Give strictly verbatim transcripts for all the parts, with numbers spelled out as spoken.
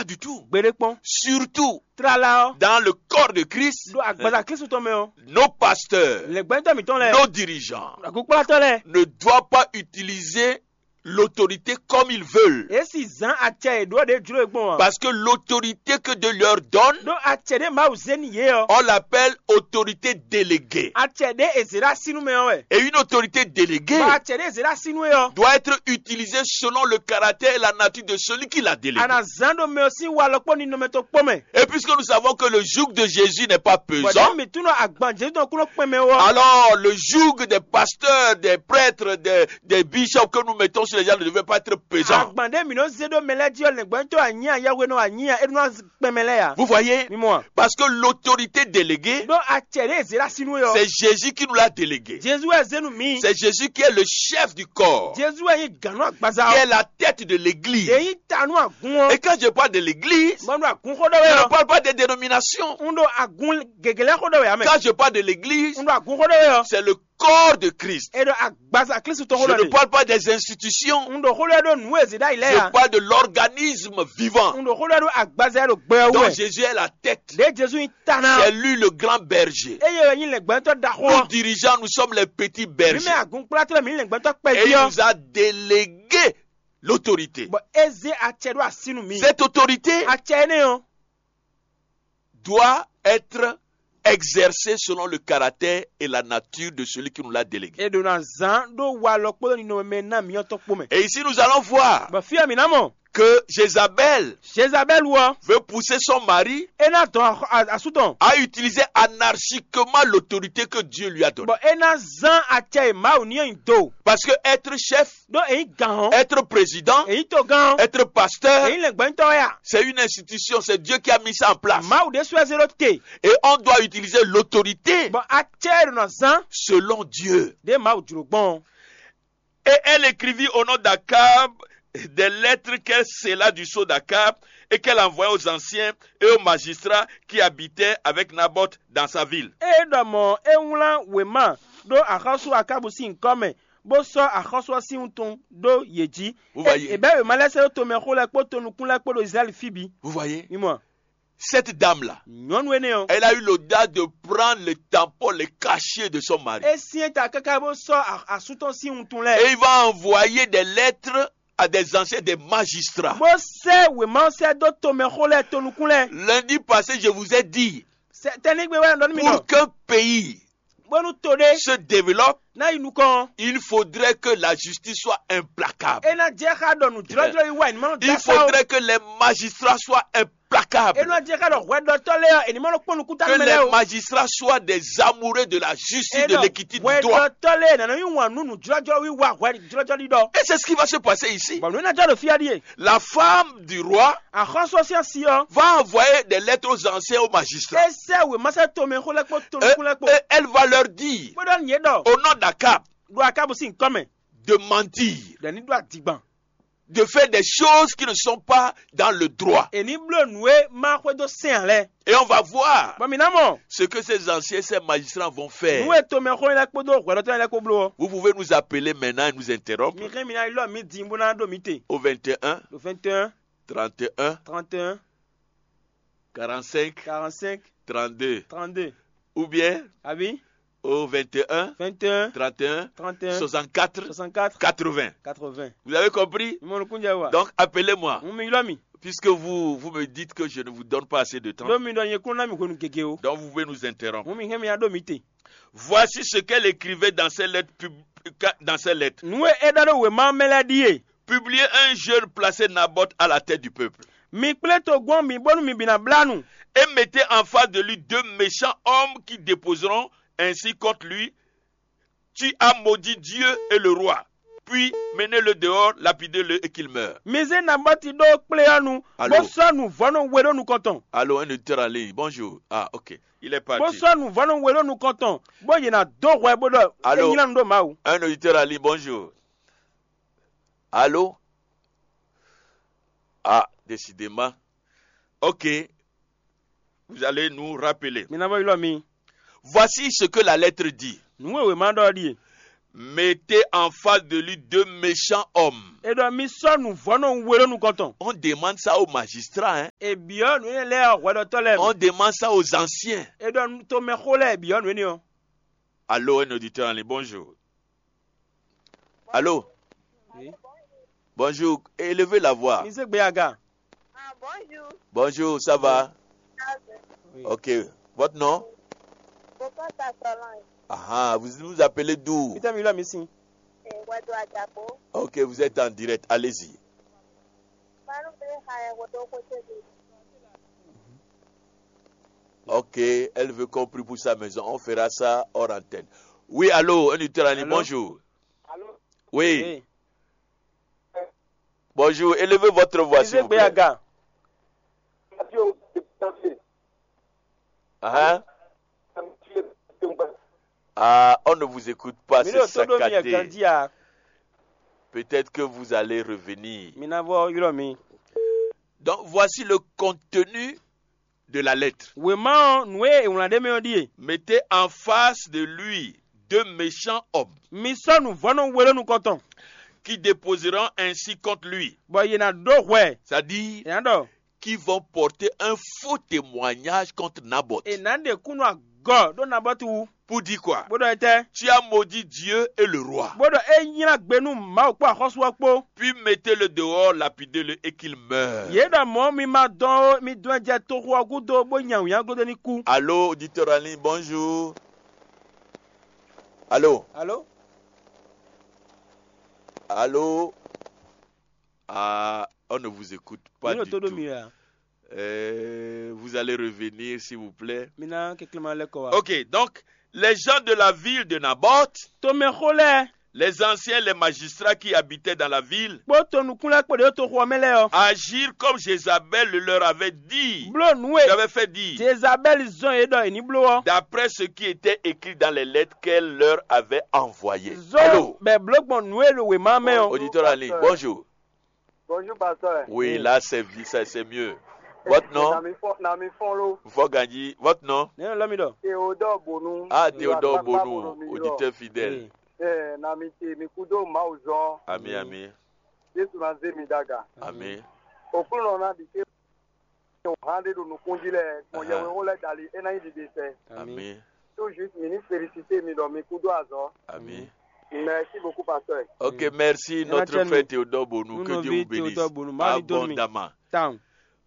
du tout. Gbeɖé kpɔn. Surtout Tlala ɔ́. Dans le corps de Christ, Ɖo agbaza Kristu tɔn mɛ ɔ́. Nos pasteurs, Lɛgbɛntɔ mǐtɔn lɛ́ɛ. Nos dirigeants Agukplatɔ lɛ́ɛ. Ne doivent pas utiliser l'autorité comme ils veulent. Èé si zán acɛ e ɖǒ ɖě jló e gbɔn ǎ. Parce que l'autorité que Dieu leur donne, Ɖó acɛ ɖé Mawu zé n'i yě ɔ́. On l'appelle autorité déléguée. Acɛ ɖé è zě ɖó asínú mɛ ɔ́ wɛ. Et une autorité déléguée Bɔ acɛ ɖé è zě ɖó asínú é ɔ́. Doit être utilisée selon le caractère et la nature de celui qui l'a déléguée. A nǎ zán ɖo mɛ ɔ́ sín walɔ kpó ninɔmɛ tɔn kpó mɛ. Et puisque nous savons que le joug de Jésus n'est pas Bɔdɛ pesant, mi tún nɔ agban Jezu tɔn kún nɔ kpɛn mɛ wɔ. Alors, le joug des pasteurs, des prêtres, des, des bishops que nous mettons sur les gens ne devait pas être pesant. Agban ɖé mi nɔ zé ɖó mɛ lɛ́ɛ jí ɔ́ lɛngbɔ́nyitɔ́ anyí a yɛhwenɔ anyí a é nɔ kpɛn mɛ lɛ́ɛ ya. Vous voyez? Mi mɔ a. Parce que l'autorité déléguée, Ɖó acɛ ɖé e zě ɖo asi nú é ɔ́. C'est Jésus qui nous l'a délégué. Jezu wɛ zé nú mi. C'est Jésus qui est le chef du corps, Jezu wɛ nyí gǎn nú agbaza qui est ɔ́. La tête de l'église. Yě nyí ta nú agun ɔ́. Et quand je parle de l'église, Mɔ ɖo agun xó ɖɔ wɛ je ne ɔ́. Parle pas des dénominations. N ɖo agun gěgé lɛ́ɛ xó ɖɔ wɛ amɛ. Quand je parle de l'église, N ɖo agun xó ɖɔ wɛ ɔ́. C'est le corps de Christ. E ɖo agbaza Kristu tɔn Je xó ɖɔ ne ni. Parle pas des institutions. N ɖo xó ɖɔ ɖo nǔ e zě ɖ'ayǐ lɛ́ɛ Je ya. Parle de l'organisme vivant N ɖo xó ɖɔ ɖo agbaza e ɖo gbɛ ɔ́ dont wɛ. Jésus est la tête. Ɖě Jezu nyí ta ná. C'est lui le grand berger. Eye wɛ nyí lɛngbɛ́ntɔ́ ɖaxó Nous ɔ́. dirigeants, nous sommes les petits Mi bergers. mɛ agun kplatɔ́ mi nyí lɛngbɛ́ntɔ́ Et il kpɛví ɔ́. Nous a délégué l'autorité. Bɔ é zé acɛ ɖó asi nú mi. Cette autorité Acɛ énɛ́ ɔ́. Doit être exercée selon le caractère et la nature de celui qui nous l'a délégué. E ɖo na zán ɖó walɔ kpódó ninɔmɛ ná mǐtɔn kpó mɛ. Et ici, nous allons voir Bɔ fí ɔ́ mǐ ná mɔ. Que Jézabel Jezabɛlu ɔ́. Veut pousser son mari É ná dɔn axɔ- a- asú tɔn. À utiliser anarchiquement l'autorité que Dieu lui a donnée. Bɔ é ná zán acɛ e Mawu ní ɔ́ nyi do. Parce que être chef, Ɖó èyí gǎn ɔ́. Être président, Èyí togán ɔ́. Être pasteur, Èyí lɛngbɛ́ntɔ́ wɛ a. C'est une institution, c'est Dieu qui a mis ça en place. Mawu ɖé sɔ́ ɛ zé ɖó te. Et on doit utiliser l'autorité Bɔ acɛ e ɖo na zán. Selon Dieu. Ɖé Mawu jlǒ gbɔn. Et elle écrivit au nom d'Akab des lettres qu'elle scella du sceau d'Akab et qu'elle envoya aux anciens et aux magistrats qui habitaient avec Naboth dans sa ville. Ée ɖɔ mɔ̌ é wlán wěma ɖó axɔ́sú Akábu sín nyǐkɔ mɛ, bó sɔ́ axɔ́sú ɔ́ sín wuntun ɖó yě jí. Vous voyez. È bɛ́ wěma lɛ́ɛ sɛ́ ɖó tomɛxó lɛ́ɛ kpó tonukún lɛ́ɛ kpó ɖo Izlayɛ́li fí bǐ. Vous voyez. Mi mɔ, Cette dame-là, nyɔ̌nu énɛ́ ɔ́, Elle a eu l'audace de prendre le tampon, le cachet de son mari. É syɛ́n ta káká bó sɔ́ a- asú tɔn sín wuntun lɛ́ɛ. Et il va envoyer des lettres à des anciens, des magistrats. Bó sɛ́ wěma ɔ́ sɛ́ dó tomɛxó lɛ́ɛ tonukún lɛ́ɛ. Lundi passé, je vous ai dit, Sɛ- Tɛnígbe wɛ ɖɔ nú mi pour ɖɔ. Qu'un pays Bónú to ɖé se développe, ná yi nukɔn. Il faudrait que la justice soit implacable. É ná jẹ́ xá ɖɔ nǔjlɔ́jlɔ́ yí wá ìnumɔ́ Il faudrait que les magistrats soient implacables. É ná jẹ́ xá ɖɔ hwɛɖɔtɔ́ lɛ́ɛ ɔ́, ènìmɔ́ nɔ kpɔ́n nukún Que tánú mɛ les lɛ́ɛ o. magistrats soient des amoureux de la justice et de l'équité du droit. Hwɛɖɔtɔ́ lɛ́ɛ nana yí wǎn nú nǔjlɔ́jlɔ́ wí wá hwɛɖɔtɔ́ ɖɔ. Et c'est ce qui va se passer ici. Bɔn nǔ énɛ́ jɔ ɖo fí ɔ́ ɖíe. La femme du roi Axɔ́sú ɔ́ sín asi ɔ́. Va envoyer des lettres aux anciens, aux magistrats. É sɛ́ wěma sɛ́ tomɛxó lɛ́ɛ kpó Et, tonukún lɛ́ɛ kpó. Et elle va leur dire, Bó ɖɔ nǔ yě ɖɔ. Au nom d'Akab, Ɖo Akábu sín nyǐkɔ mɛ. De mentir, Ɖɔ ní ɖó adigbɔn. De faire des choses qui ne sont pas dans le droit. È ní bló nǔ e má xwedó sɛn ǎ lɛ́ɛ. Et on va voir Bɔn mǐ ná mɔ. Ce que ces anciens, ces magistrats vont Nǔ faire. E tomɛxó lɛ́ɛ kpódó hwɛɖɔtɔ́ lɛ́ɛ kpó bló ɔ́. Vous pouvez nous appeler maintenant et nous interrompre Mi xɛn mi ná ylɔ́ mi din bó ná ɖo mi te. Au vingt et un, Ɖo vingt et un, trente et un, trente et un, quarante-cinq, quarante-cinq, trente-deux. Trente-deux. Ou bien Àbí? Au vingt et un, Vingt et un, trente et un, trente et un, soixante-quatre, soixante-quatre, quatre-vingts. Quatre-vingts. Vous avez compris? Mi mɔ nukún jɛ wa. Donc appelez-moi. Mo mi ylɔ́ mi. Puisque vous, vous me dites que je ne vous donne pas assez de temps. Ɖó mi ɖɔ nyɛ kún ná mi hwenu gěgé o. Donc vous pouvez nous interrompre. Mo mi hɛn mi ná ɖo mi te. Voici ce qu'elle écrivait dans ses lettres pub- dans ses lettres. Nǔ e é ɖɔ ɖó wěma mɛ lɛ́ɛ ɖíe. Publiez un jeune, placez Naboth à la tête du peuple. Mi kplé togbɔn mi bónú mi bǐ ná blá nu. Et mettez en face de lui deux méchants hommes qui déposeront ainsi contre lui: Tu as maudit Dieu et le roi. Puis menez-le dehors, lapidez-le et qu'il meure. Mi zé Nabɔti ɖó kplé ɔ́ nu, Alo. Bó sɔ́ nǔvɔ́nú we ɖó nukɔn tɔn. Allô, un auditeur en ligne, bonjour. Ah, ok. Il est parti. Bó sɔ́ nǔvɔ́nú we ɖó nukɔn tɔn, bó yě ná dó hwɛ bó ɖɔ é nylá nu ɖó Mawu. Un auditeur en ligne, bonjour. Allô? Ah, décidément. Ok. Vous allez nous rappeler. Mi ná vɔ ylɔ́ mi. Voici ce que la lettre dit. Nǔ e wěma ɖɔ ɔ́ ɖíe. Mettez en face de lui deux méchants hommes. È ɖɔ mi sɔ́ nǔvɔ́nɔ we ɖó nukɔn tɔn. On demande ça au magistrat, hein. È byɔ́ nǔ énɛ́ lɛ́ɛ ɔ́ hwɛɖɔtɔ́ lɛ́ɛ mɛ. On demande ça aux anciens. È ɖɔ tomɛxó lɛ́ɛ è byɔ́ nǔ énɛ́ ɔ́. Allô, un auditeur en ligne, bonjour. Allô. Oui. Bonjour, élevez la voix. Mi zé gbe aga. Ah, bonjour. Bonjour, ça va? Ça va. Oui. Ok. Votre nom? Pourquoi ça s'allonge? Ah, vous nous appelez d'où? Peter Milo Amisin. Eh, Wado Adjabo. Ok, vous êtes en direct. Allez-y. Malu Bele Khaya Wado Kote de. Ok, elle veut qu'on prie pour sa maison. On fera ça hors antenne. Oui, allô, un auditeur en ligne, bonjour. Allô? Oui. Oui. Bonjour, élevez votre voix, s'il vous plaît. Hein? Ah, on ne vous écoute pas, c'est saccadé. Peut-être que vous allez revenir. Donc, voici le contenu de la lettre. Wěma ɔ́, nǔ e è wlán ɖ'é mɛ ɔ́ ɖíe: Mettez en face de lui deux méchants hommes. Mi sɔ́ nǔvɔ́nɔ we ɖó nukɔn tɔn. Qui déposeront ainsi contre lui. Bɔ yě ná ɖó hwɛ. C'est-à-dire, yě ná ɖɔ, qui vont porter un faux témoignage contre Naboth. È nǎ ɖe kúnnu agɔ ɖó Nabɔti wú. Pour dire quoi? Bó ɖɔ étɛ́? Tu as maudit Dieu et le roi. Bó ɖɔ é nylá gbe nú Mawu kpó axɔ́sú ɔ́ kpó. Puis mettez-le dehors, lapidez-le et qu'il meure. Yě ɖɔ mɔ̌ mi ma dɔn ó, mi dɔn ɛ jɛ toxo ɔ́ gúdo bó nya wǐnyaŋ glódó ní kú. Allô, auditeur en ligne, bonjour. Allô? Allô? Allô? Ah, on ne vous écoute pas du tout. Euh, vous allez revenir, s'il vous plaît. Ok, donc, les gens de la ville de Naboth, tomɛxó lɛ́ɛ, les anciens, les magistrats qui habitaient dans la ville, kpó tonukún lɛ́ɛ kpó ɖě ɖo toxo ɔ́ mɛ lɛ́ɛ ɔ́, agirent comme Jézabel le leur avait dit, bló nǔ e j'avais fait dire. Jezabɛ́li zɔ́n yě ɖɔ è ní bló ɔ́. D'après ce qui était écrit dans les lettres qu'elle leur avait envoyées. Zɔ́n bɛ bló gbɔn nǔ e ɖo wěma mɛ ɔ́. Auditeur en ligne, bonjour. Bonjour, pasteur. Oui, là, c'est vi- c'est c'est mieux. Votre nom? Nami fɔn nami fɔn lo. Fɔganji, votre nom? Nɛnɛ lɔ mi ɖɔ. Théodore Bonu. Ah, Théodore Bonu, auditeur fidèle. Ee, nami te mi kudo Mawu zɔn. Ami, ami. Yesu na zé mi daga. Ami. Okunɔ na ɖi ke o hã ɖe ɖo nukun jí lɛ gbɔn yɛwɛwo lɛ dali e na nyí ɖiɖe sɛ. Ami. Tout juste mi ní félicité mi ɖɔ mi kudo azɔ. Ami. Merci beaucoup, pasteur. Ok, merci, notre frère Théodore Bonou, que Dieu vous bénisse. Abondamment.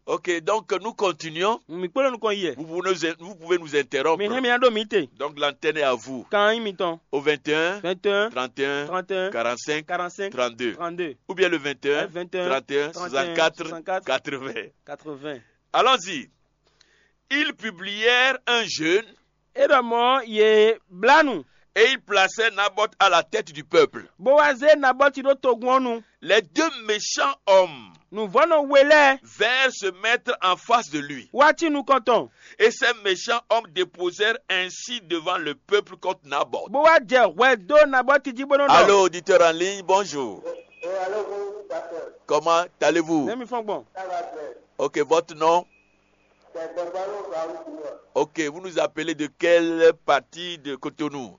Ok, donc nous continuons. Mi kpɔ́n nukɔn yi. Vous pouvez nous, vous pouvez nous interrompre. Mi hɛn mi ɖo mi te. Donc l'antenne est à vous. Kan nyí mitɔn. Au vingt et un, vingt et un, trente et un, trente et un, quarante-cinq, quarante-cinq, trente-deux. Trente-deux. Ou bien le vingt et un, vingt et un, trente et un, soixante-quatre, quatre-vingts. Quatre-vingts. Allons-y. Ils publièrent un jeûne. É ɖɔ mɔ̌ yě blá nu. Et ils placèrent Naboth à la tête du peuple. Bó wá zé Nabɔti ɖó togun ɔ́ nu. Les deux méchants hommes. Nǔvɔ́nɔ we lɛ́ɛ. Vinrent se mettre en face de lui. Wá cí nukɔn tɔn. Et ces méchants hommes déposèrent ainsi devant le peuple contre Naboth. Bó wá jɛ hwɛ dó Nabɔti jí bó nɔ́ ɖɔ. Allô, auditeur en ligne, bonjour. Comment allez-vous? Nɛ́ mi fɔ́n gbɔn. Ok, votre nom? Ok, vous nous appelez de quelle partie de Cotonou?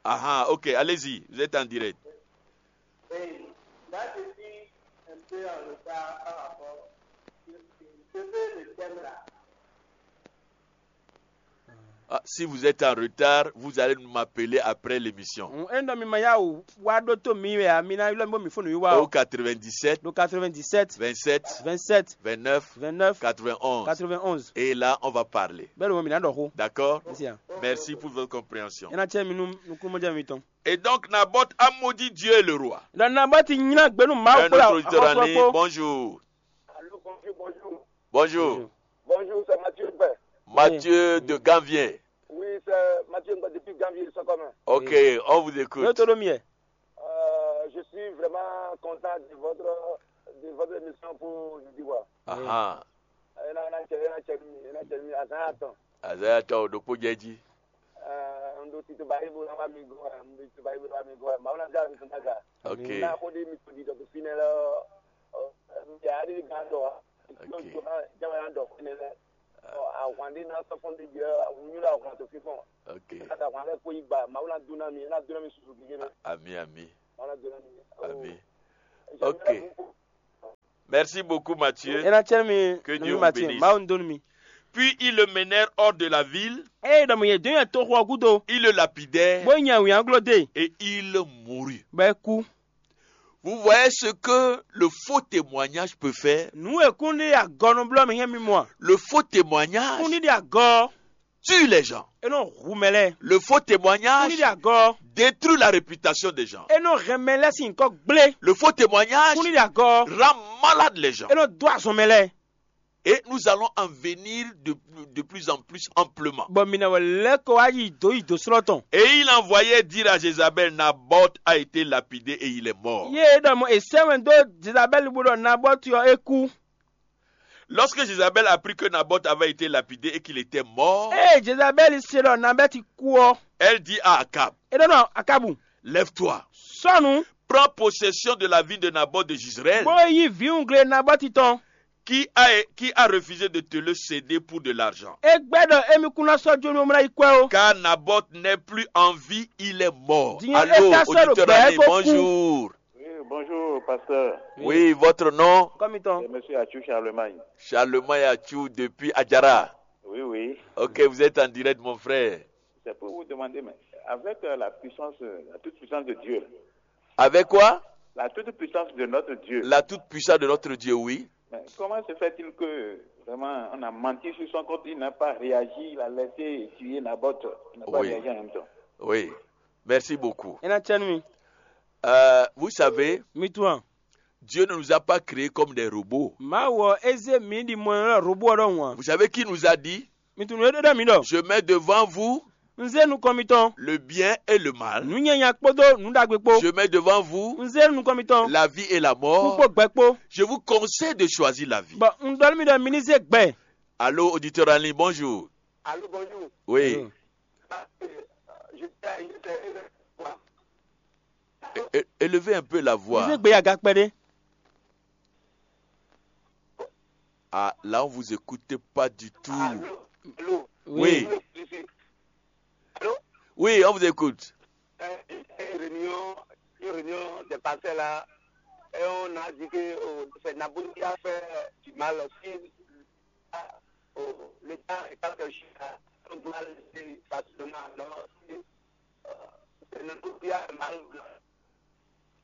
Ah, ah, ok, allez-y, vous êtes en direct. Ah, si vous êtes en retard, vous allez m'appeler après l'émission. N é ɖɔ mi ma yá wò wá ɖótó mi wɛ a, mi ná ylɔ́ mi bó mi fó nǔ yi wá. Au quatre-vingt-dix-sept, ɖo quatre-vingt-dix-sept, vingt-sept, vingt-sept, vingt-neuf, vingt-neuf, quatre-vingt-onze. Quatre-vingt-onze. Et là, on va parler. Bɛ́ ɖo mɔ mi ná ɖɔ xó. D'accord? Merci pour votre compréhension. É ná cɛ mi nú nukúnmɔjɛmɛ mitɔn. Et donc, Naboth a maudit Dieu et le roi. Ɖɔ Nabɔti nylá gbe nú Mawu kpó axɔ́sú ɔ́ kpó. Bonjour. Allô, bonjour, bonjour. Bonjour. Bonjour, c'est Mathieu Mbé. Mathieu de Ganvier. Oui, c'est Mathieu Mbé depuis Ganvier, Sokome. Ok, on vous écoute. Yóò tó ɖó mi ɛ. Euh, je suis vraiment content de votre, de votre émission pour jeudi, quoi. Ah, ah. Ena na cɛ ena cɛ mi ena cɛ mi azan atɔn. Azan atɔn o ɖokpó jɛ jí. Un ɖo tito ba ibo na wa mi go un ɖo tito ba ibo na wa mi go ma wona ja mi tun daga. Ok. Na ko de mi to di dɔ fi ne lɔ. Ya di gan dɔ. Ok. Jama ya dɔ fi ne lɛ. Ahwan ɖé ná sɔ́ fɔ́n ɖé jɛ wǔnyú ɖo ahwan tó fífɔ́n. Ok. Káta ahwan lɛ́ɛ kó yi gba Mawu ná dó ná mi, é ná dó ná mi susu gígé nɛ. Ami, ami. Mawu ná dó ná mi. Ami. Ok. Merci beaucoup, Mathieu. É ná cɛ́ mi. Que Dieu vous bénisse. Mawu dó nú mi. Puis ils le menèrent hors de la ville. Ée ɖɔ mɔ yě dó nyi toxo ɔ́ gúdo. Ils le lapidèrent. Bó nya wǐnyagló dó e. Et il mourut. Bɔ é kú. Vous voyez ce que le faux témoignage peut faire? Nǔ e kún ɖe agɔnúblɔ́ mi hɛn mi mɔ a? Le faux témoignage. Kún ɖiɖi agɔ. Tue les gens. É nɔ hu mɛ lɛ́ɛ. Le faux témoignage. Kún ɖiɖi agɔ. Détruit la réputation des gens. É nɔ hɛn mɛ lɛ́ɛ sín nyǐkɔ gblé. Le faux témoignage. Kún ɖiɖi agɔ. Rend malade les gens. É nɔ dó azɔn mɛ lɛ́ɛ. Et nous allons en venir de, de plus en plus amplement. Bɔ mi ná wɛ lɛ́ kɔ wá yi dǒ yi dǒ slɔ́ tɔn. Et il envoyait dire à Jézabel: Naboth a été lapidé et il est mort. Yé é ɖɔ mɔ è sɛ́ wɛn dó Jezabɛ́li bó ɖɔ Nabɔ́ti ɔ́ é kú. Lorsque Jézabel apprit que Naboth avait été lapidé et qu'il était mort, Ée Jezabɛ́li se ɖɔ Nabɛ́ti kú ɔ́, elle dit à Akab: É ɖɔ nɔ Akabu: Lève-toi, sɔ́nu, prends possession de la ville de Naboth de Jezreel, bó yí vǐwungle Nabɔ́ti tɔn. Qui a, qui a refusé de te le céder pour de l'argent. É gbɛ́ ɖɔ émí kún ná sɔ́ jó nú mlá yi kwɛ́ ó. Car Naboth n'est plus en vie, il est mort. Diɲɛ Allô, é ka sɔ́ ɖo auditeur gbɛ̌ ami, kó kú. Bonjour. Oui, bonjour, pasteur. Oui, votre nom? Kɔmitɔn. C'est monsieur Achou Charlemagne. Charlemagne Achou depuis Adjara. Oui, oui. Ok, vous êtes en direct, mon frère. C'est pour vous demander, mais avec euh, la puissance, euh, la toute puissance de Dieu, là. Avec quoi? La toute puissance de notre Dieu. La toute puissance de notre Dieu, oui. Mais comment se fait-il que vraiment on a menti sur son compte, il n'a pas réagi, il a laissé tuer Naboth, il n'a pas Oui. réagi en même temps? Oui. Merci beaucoup. É ná cɛ́ nú mi. Euh, vous savez, Mi tunwun a? Dieu ne nous a pas créés comme des robots. Mawu ɔ́, é zé mǐ ɖi mɔ ɛ lɔ robo ɔ́ ɖɔhun a? Vous savez qui nous a dit? Mi tunwun nǔ e ɖɔ mǐ ɖɔ. Je mets devant vous Un zé nukɔn mitɔn. Le bien et le mal. Nǔ nyanya kpódó nǔ ɖagbe kpó. Je mets devant vous Un zé nukɔn mitɔn. La vie et la mort. Kú kpó gbɛ kpó. Je vous conseille de choisir la vie. Bɔ un ɖɔ nú mi ɖɔ mi ní zé gbɛ. Allô, auditeur en ligne, bonjour. Allô, bonjour. Oui. Allô. Je É- é- Élevez un peu la voix. Mi zé gbɛ yi aga kpɛɖé. Ah, là, on vous écoute pas du tout. Allô, allô. Oui. Oui. Allô. Oui, on vous écoute. Euh, une réunion, une réunion des pasteurs là, et on a dit que oh, c'est Naboth qui a fait du mal aussi. Ah, oh, l'État est pas cherché à mal, c'est facilement. Alors, c'est, euh, c'est Naboth qui a fait mal.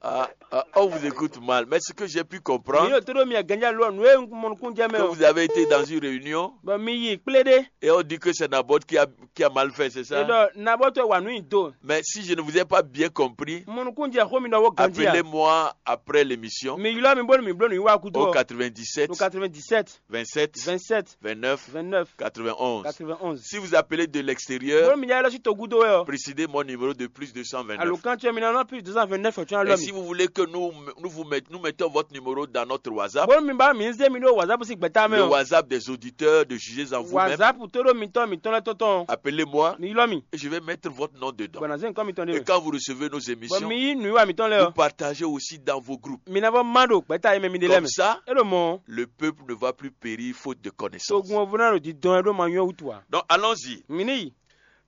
Ah, ah, on vous écoute mal, mais ce que j'ai pu comprendre, Mi ɖo to ɖo mi aganja lɔ nǔ e mɔnukúnjɛ mɛ que o. Vous avez été dans une réunion Bɔ mi yi kplé ɖé. Et on dit que c'est Naboth qui a, qui a mal fait, c'est ça? E ɖɔ Nabɔtɔ wa nǔ nyi do. Mais si je ne vous ai pas bien compris, Mɔnukúnjɛ xó mi ɖɔ wo ganjí a? Appelez-moi après l'émission. Mi ylɔ́ mi bónú mi bló nǔ yi wá gúdo Au ɔ. Quatre-vingt-dix-sept, Ɖo quatre-vingt-dix-sept, vingt-sept, vingt-sept, vingt-neuf, vingt-neuf, quatre-vingt-onze. Quatre-vingt-onze. Si vous appelez de l'extérieur, Bónú mi jɛ lɔ sí togúdo wɛ ɔ. Précédez mon numéro de plus deux cent vingt-neuf. Alukán ce mi ná nɔ plus deux cent vingt-neuf ɔ tún alɔ mi. Et si vous voulez que nous, nous, vous met- nous mettons votre numéro dans notre WhatsApp, Bónú mi ba mi zé mi ɖó WhatsApp sí gbɛtá mɛ le ɔ. WhatsApp des auditeurs de Juger en vous-même, WhatsApp tó ɖó mitɔn mitɔn lɛ tɔtɔn. Appelez-moi. Mi ylɔ́ mi. Et je vais mettre votre nom dedans. Bɔ na zé nukɔn mitɔn ɖé. Et quand vous recevez nos émissions, Bɔ mi yí nǔ wa mitɔn lɛ vous ɔ. Partagez aussi dans vos groupes. Mi ná vɔ ma ɖo gbɛtá e mɛ mi ɖe lɛ Comme mɛ. Ça, E ɖo mɔ. Le peuple ne va plus périr faute de connaissance. Togun ɔ́ vo ná ɖo didɔn ɛ ɖó ma nyɔ́ wútu ǎ. Donc allons-y. Mi ní yi.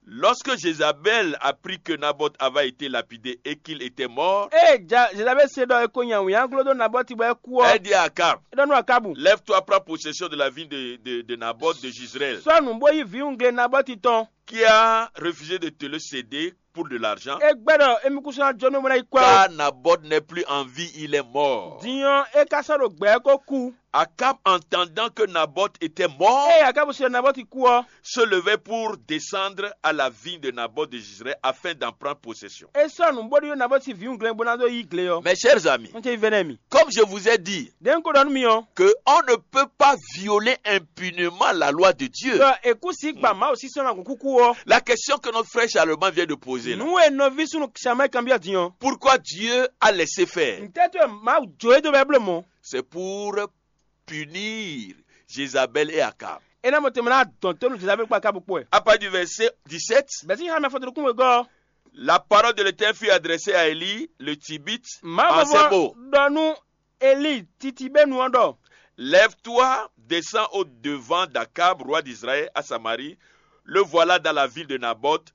Lorsque Jézabel apprit que Naboth avait été lapidé et qu'il était mort, Ée ja Jezabɛ́li se ɖɔ è ko nya wǐnyagló dó Nabɔ́ti bɔ é kú ɔ́, Elle dit à Akab, é ɖɔ nú Akábu, Lève-toi, prends possession de la ville de, de, de Naboth de Jezreel, Sɔ́ nǔ bó yí vǐwungle Nabɔ́ti tɔn. Qui a refusé de te le céder pour de l'argent. É gbɛ́ ɖɔ émí kún sɔ́ ná jó nú mɔ ná yi kwɛ́ ó. Car Naboth n'est plus en vie, il est mort. Din ɔ́, é ka sɔ́ ɖo gbɛ̌ kó kú. Akab, entendant que Naboth était mort, Ée Akábu se ɖɔ Nabɔ́ti kú ɔ́, se levait pour descendre à la vigne de Naboth de Jezreel afin d'en prendre possession. É sɔ́ nǔ bó ɖó Nabɔ́ti vǐwungle bó ná dó yí gle ɔ́. Mes chers amis, Un ce vɛ́nɛ́ mi. Comme je vous ai dit, Ɖě un ko ɖɔ nú mi ɔ́, Que on ne peut pas violer impunément la loi de Dieu. Ɖɔ è kú sí gba Mawu sísɔ́ ná gǔn kúkú ɔ́. La question que notre frère Charlemagne vient de poser là. Nǔ e nɔví súnnu Samuɛ́li kanbyɔ́ din ɔ́. Pourquoi Dieu a laissé faire? Ntɛ́ tó e Mawu jó é dó bɛ́ bló mɔ̌? C'est pour punir Jézabel et Akab. É ná mɔ tɛnmɛ ná dɔn tó nú Jezabɛ́li kpó Akábu kpó wɛ. À partir du verset dix-sept, Bɛ̌ sín xá mɛ fɔtɔnukún wegɔ́ ɔ́, La parole de l'Éternel fut adressée à Élie, le Tibite, Mawu en ces mots. Ɖɔ nú Elíi titibénu ɔ́ ɖɔ: Lève-toi, descends au devant d'Akab, roi d'Israël, à Samarie. Le voilà dans la ville de Naboth,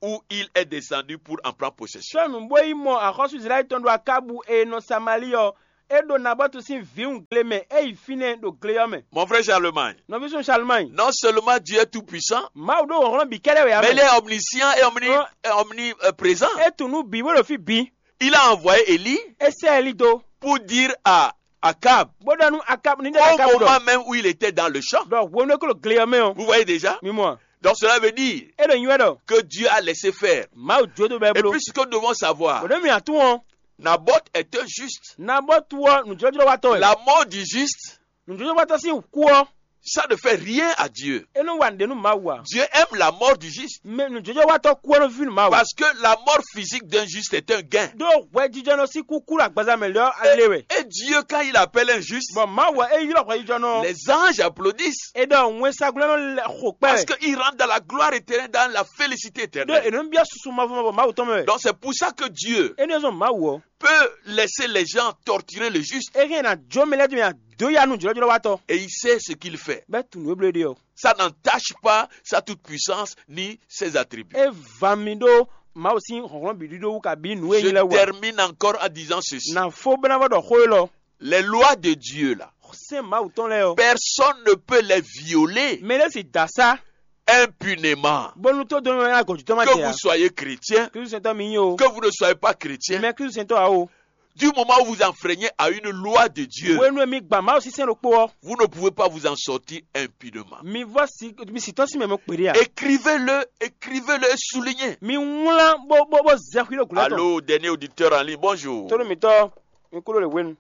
où il est descendu pour en prendre possession. Sɔ́ nǔ bó yi mɔ axɔ́sú Izlayɛ́li tɔn ɖo Akábu e nɔ Samalíi ɔ́, é ɖo Nabɔ́tu sín vǐwun gle mɛ, é yi fínɛ́ ɖo gle ɔ́ mɛ. Mon frère Charlemagne, Nɔví sún Salumai, non seulement Dieu est tout-puissant, Mawu ɖó hlɔ̌nhlɔ́n bǐ kɛ́ɖɛ́ wɛ ǎ mais il mɛ. Est omniscient et omni, Hɔn- et omniprésent. É tunwun nǔ bǐ bó ɖo fí bǐ. Il a envoyé Élie É sɛ́ Eli dó, pour dire à Akab, bó ɖɔ nú Akábu ní ɖɔ au Akábu ɖɔ, moment même où il était dans le champ. Ɖɔ hwenu e kó ɖo gle ɔ́ mɛ ɔ́, Vous voyez déjà? Mi mɔ a? Donc cela veut dire É ɖo nywɛ́ ɖɔ que Dieu a laissé faire. Mawu jó dó bɛ́ Et bló. Puis ce que nous devons savoir, Bɔ̌ ɖé mi atún ɔ́, Naboth était juste. Nabɔ́tu ɔ́ nǔjlɔ́jlɔ́watɔ́ wɛ. La mort du juste, Nǔjlɔ́jlɔ́watɔ́ sín kú ɔ́, Ça ne fait rien à Dieu. É nɔ wa nǔɖé nú Mawu ǎ. Dieu aime la mort du juste. Mɛ nǔjlɔ́jlɔ́watɔ́ kú ɔ́ nɔ ví nú Mawu. Parce que la mort physique d'un juste est un gain. Ɖó hwɛjijɔnɔ sín kúkú ɖo agbaza mɛ lɛ́ ɔ́ alé wɛ. Et Dieu, quand il appelle un juste, Bɔn Mawu ɔ́, é ylɔ́ hwɛjijɔnɔ ɔ́. Les anges applaudissent. É ɖɔ wɛnsagun lɛ́ɛ nɔ lɛ xo kpɛ́ Parce wɛ. Qu'ils rentrent dans la gloire éternelle, dans la félicité Ɖó éternelle. È nɔ byɔ́ susu mavɔ mavɔ Mawu tɔn mɛ wɛ. Donc c'est pour ça que Dieu É nɔ zɔn Mawu ɔ́. Peut laisser les gens torturer le juste. É hɛn ná jó mɛ lɛ́ɛ dó mɛ dó ya nú jlɔ́jlɔ́watɔ́. Et il sait ce qu'il fait. Bɛ́ tunwun e bló ɖe ɔ́. Ça n'entache pas sa toute puissance ni ses attributs. É va mi ɖó Mawu sín hlɔ̌nhlɔ́n bǐ ɖíɖó wú kabí nǔ e Je nyí lɛ́ɛ wú ǎ. Termine encore en disant ceci. Nǎ fó bó ná vɔ ɖɔ xó élɔ́. Les lois de Dieu là, Sɛ́n Mawu tɔn lɛ́ɛ ɔ́. Personne ne peut les violer Mɛ ɖé si da sá impunément. Bónú tó dó ná gɔ̌ jítɔ́ má Que jɛ vous ǎ. Soyez chrétien, Klísu sɛntɔ́ mi nyí o. Que vous ne soyez pas chrétien, Mɛ Klísu sɛntɔ́ ǎ o. Du moment où vous enfreignez à une loi de Dieu, Hwenu e mi gba Mawu sín sɛ́n ɖokpó ɔ́, vous ne pouvez pas vous en sortir impunément. Mi vɔ si mi si tɔ́ sín mɛ mɔ kpeɖé a? Écrivez-le, écrivez-le et soulignez. Mi wlán bó bó bó zɛ xwí ɖo gǔlá tɔn. Allô, dernier auditeur en ligne, bonjour. Tónú mitɔ mi kúrò lè hwenu.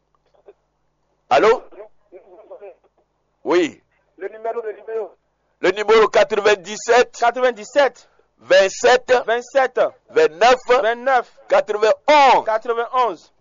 Allô? Oui. Le numéro, le numéro. Le numéro quatre-vingt-dix-sept, quatre-vingt-dix-sept, vingt-sept, vingt-sept, vingt-neuf, vingt-neuf, quatre-vingt-onze. Quatre-vingt-onze.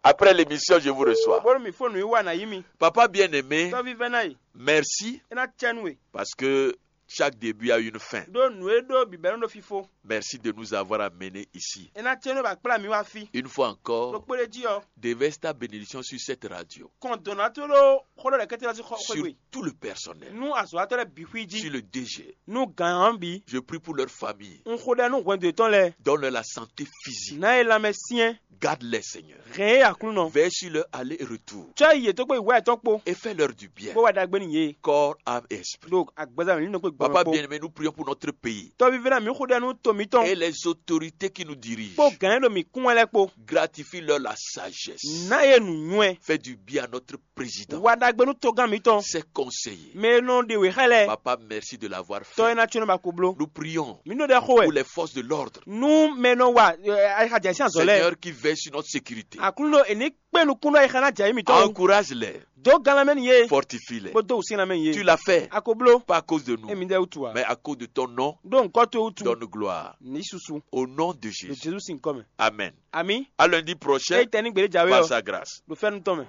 Après l'émission, je vous reçois. Bónú mi fó nǔ yi wá nǎ yí mi. Papa bien-aimé, Tɔ́ví vɛ́ ná yi. Merci. É ná cɛ nú we. Parce que chaque début a une fin. Ɖó nǔ e ɖó bǐbɛ́ nɔ ɖo fífó. Merci de nous avoir amenés ici. É ná cɛ nú ba kplá mi wá fí. Une fois encore, Ɖokpó ɖé jí ɔ́, déverse ta bénédiction sur cette radio. Kɔn dɔ̌n ná tó ɖó xó ɖɔ lɛ́kɛ́tɛ́ lɔ sín xɔ Sur xwé tout le personnel. Nú azɔ̌watɔ́ lɛ́ɛ bǐ xwí jí. Sur le D G. Nú gǎn ɔ́ bǐ. Je prie pour leur famille. Un xo ɖɛ nú hwɛndo yětɔn lɛ́ɛ. Donne-leur la santé physique. Ná yě lanmɛ syɛ́n. Garde-les, Seigneur. Hɛn yě Aklúnɔ. Veille sur leur aller et retour. Cɔ́ yi yě tó kpó yi wá yětɔn kpó. Et fais-leur du bien. Bó wá ɖagbe nú yě. Corps, âme et esprit. Ɖo agbaza mǐ nɔ kpé gbɔn Papa kpó. Bien-aimé, nous prions pour notre pays. Tɔ́vívɛ́ná mǐ xo ɖɛ nú to mǐtɔn. Et les autorités qui nous dirigent. Kpó gǎn e ɖo mǐ kún wɛ lɛ́ɛ kpó. Gratifie-leur la sagesse. Ná yě nǔnywɛ́. Fais du bien à notre président. Wa ɖagbe nú togán mǐtɔn. Ses conseillers. Mɛ e nɔ ɖe wě xá lɛ́ɛ. Papa, merci de l'avoir fait. Tɔ e ná tso nɔ ba ko bló. Nous prions Mǐ nɔ ɖe xo pour wɛ. Les forces de l'ordre. Nú mɛ e nɔ wa ayixa jɛ sín azɔ̌ lɛ́ɛ. Seigneur qui veille sur notre sécurité. Aklúnɔ è ní kpé nukúnnú ayixa ná jɛ mǐ tɔn. Encourage-les. Dó gan lanmɛ n'i yé. Fortifie-les. Bó dó wǔsín lanmɛ n'i yé. Tu l'as fait. A ko bló. Pas à cause de nous. Émí ɖɛ́ wútu ǎ. Mais à cause de ton nom. Ɖó ŋkɔ towe wútu. Donne gloire. Ní susu. Au nom de Jésus. Jezu sín kɔ mɛ. Amen. Ami. À lundi prochain. Éyi tɛ ní gběɖé jǎwe. Par sa grâce. Ɖo fɛ́nú tɔn mɛ.